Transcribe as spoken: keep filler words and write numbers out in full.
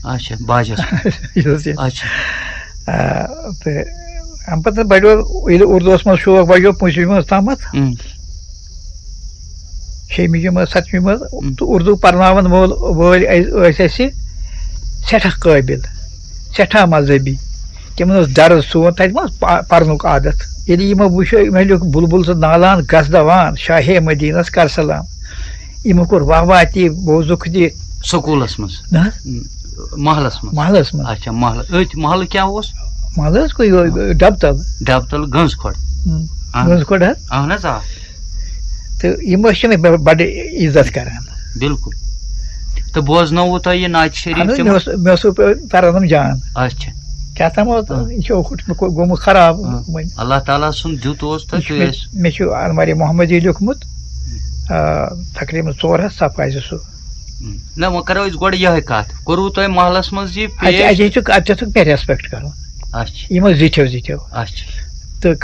اچھا، باجس۔ یہِ اوس یہِ۔ اچھا۔ آ، تہٕ اَمہِ پَتہٕ بَڑیو، ییٚلہِ اُردوَس منٛز شوق بَڑیو پٲنٛژمہِ منٛز تامَتھ، اۭں۔ شیٚیِمہِ جمٲژ، سَتمہِ منٛز، اۭں۔ تہٕ اُردو پَرناوَن وول، وٲلۍ ٲسۍ، ٲسۍ اَسہِ سٮ۪ٹھاہ قٲبِل، سٮ۪ٹھاہ مذہبی۔ تِمَن اوس درس سون، تَتہِ ما اوس پَ-، پَرنُک عادت۔ ییٚلہِ یِمو وٕچھو، یِمو لیوٚکھ بُلبُل سُنٛد نالان گژھ دوان، شاہے مدینس کر سلام۔ یِمو کوٚر واہ واہ تہِ، بوزُکھ تہِ۔ سکوٗلس منٛز؟ نہ حظ؟ محلس منٛز؟ محلس منٛز۔ اچھا، محلہٕ، أتھۍ محلہٕ کیٛاہ اوس؟ محلہٕ حظ گوٚو یِہوٚے ڈبتل۔ ڈبتل گنٛز کھۄڑ۔ ہُم۔ اہن۔ گنٛز کھۄڑ حظ۔ اہن حظ، آ۔ تہٕ یِم ٲسۍ مےٚ ب-، بڑٕ عزت کران۔ بِلکُل۔ تہٕ بوزنووُ تۄہہِ یہِ نعتِ شریٖف اہن حظ، تِمن؟ مےٚ اوس، مےٚ اوس سُہ پران یِم جان۔ اچھا۔ کیٛاہ تام اوس، آ۔ یہِ چھُ اوکُٹ مےٚ گوٚمُت خراب۔ آ۔ وۄنۍ۔ اللہ تعالیٰ سُنٛد دیُت اوس تہٕ یہِ چھُ تُہۍ مےٚ، ٲسۍ۔ مےٚ چھُ المارِ محمدی لیوٚکھمُت، آ، تقریٖباً ژور ہتھ صفہٕ آسہِ سُہ۔ نہ، وۄنۍ کرو أسۍ گۄڈٕ یِہوٚے کتھ۔ کوٚروٕ تۄہہِ محلس منٛز یہِ اَتہِ، پیش؟ اَتہِ چھُ، اَتہِ چھُ مےٚ ریسپیکٹ کرُن۔ اچھا۔ یِمو زِٹھیو زِٹھیو۔ اچھا۔ تہٕ